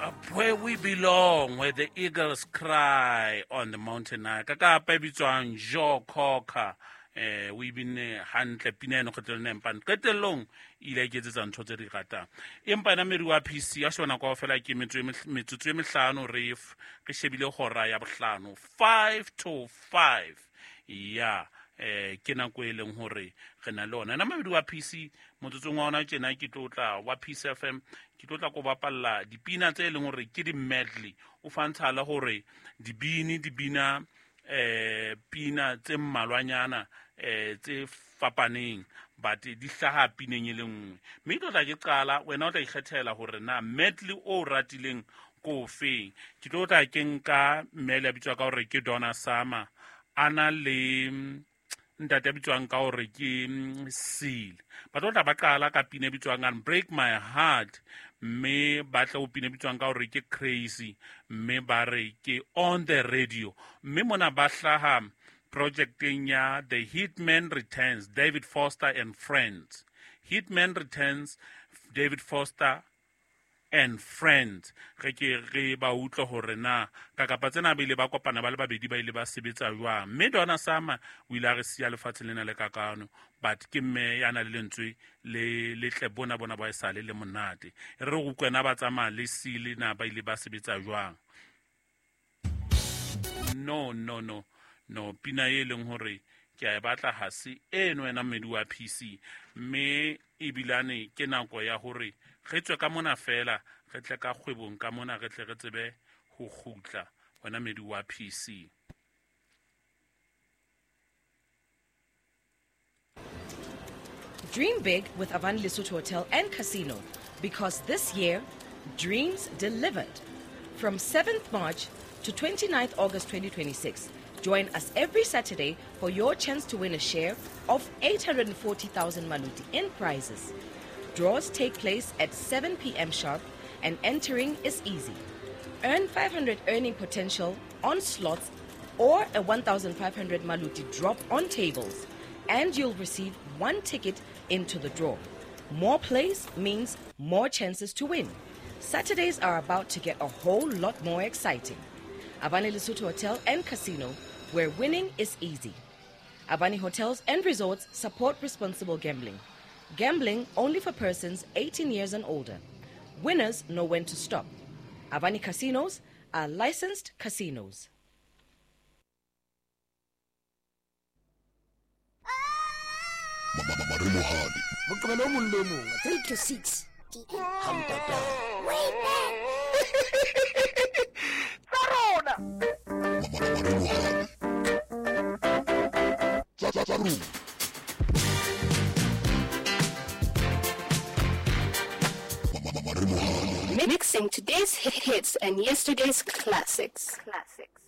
Up where we belong, where the eagles cry on the mountain high. Ka kapa e bitswang Joe Cocker. O e binne hantle pina eno kgetlong le empane qetellong e ile a iketsetsa ntho tse di ratang. Empa ena meri wa PC a shona kaofela ke metsotso e mehlano re shebile hora ya bohlano, 5 to 5. Ya ke nako e leng hore re na le ona. Ena mabedi wa PC motsotsong wa ona tjena ke tlo tla wa Peace FM, ke tlo tla ko bapalla dipina tse leng hore ke di-medley. O fantsha le hore dibini di bina pina tse mmalwanyana tse fapaneng, but di hlaha pineng e le nngwe. Mme ke tlo tla ke qala, wena o tla ikgethela hore na medley o ratileng ko ofeng. Ke tlo tla ke nka mme le a bitswa ka hore ke Donna Summer, a na le ntate a bitswang ka hore ke Seal. Ba tlo tla ba qala ka pina e bitswang and Break My Heart, mme ba tla ho pina e bitswang ka hore ke Crazy, mme ba re ke On the Radio. Mme mona ba hlaha projecteng ya The Hitman Returns, David Foster and Friends. Hitman Returns, David Foster and Friends. Re ke re ba utlwe hore na ka kapa tsena ba ile ba kopana ba le babedi ba ile ba sebetsa jwang. Mme Donna Summer o ile a re siya lefatshe lena le kakano, but ke mme ya na le lentswe le letle bona bona ba esale le monate. Re re utlwe na ba tsamaya le Seal na ba ile ba sebetsa jwang. No, no, no, no, pina e leng hore ke a e batla ha se eno wena mmedi wa PC. Mme ebilane ke nako ya hore re tswe ka mona fela, re tle ka kgwebong ka mona, re tle re tsebe ho kgutla wena mmedi wa PC. Dream big with Avani Lesotho Hotel and Casino, because this year, dreams delivered. From 7th March to 29th August 2026, join us every Saturday for your chance to win a share of 840,000 maluti in prizes. Draws take place at 7 p.m. sharp, and entering is easy. Earn 500 earning potential on slots or a 1,500 maluti drop on tables, and you'll receive one ticket into the draw. More plays means more chances to win. Saturdays are about to get a whole lot more exciting. Avani Lesotho Hotel and Casino, where winning is easy. Avani Hotels and Resorts support responsible gambling. Gambling only for persons 18 years and older. Winners know when to stop. Avani Casinos are licensed casinos. Moqebelo o mong le o mong 3 to 6 ha ntata. Tsa rona. Maremohadi tsa rona. Maremohadi. Mixing today's hits and yesterday's classics. Classics.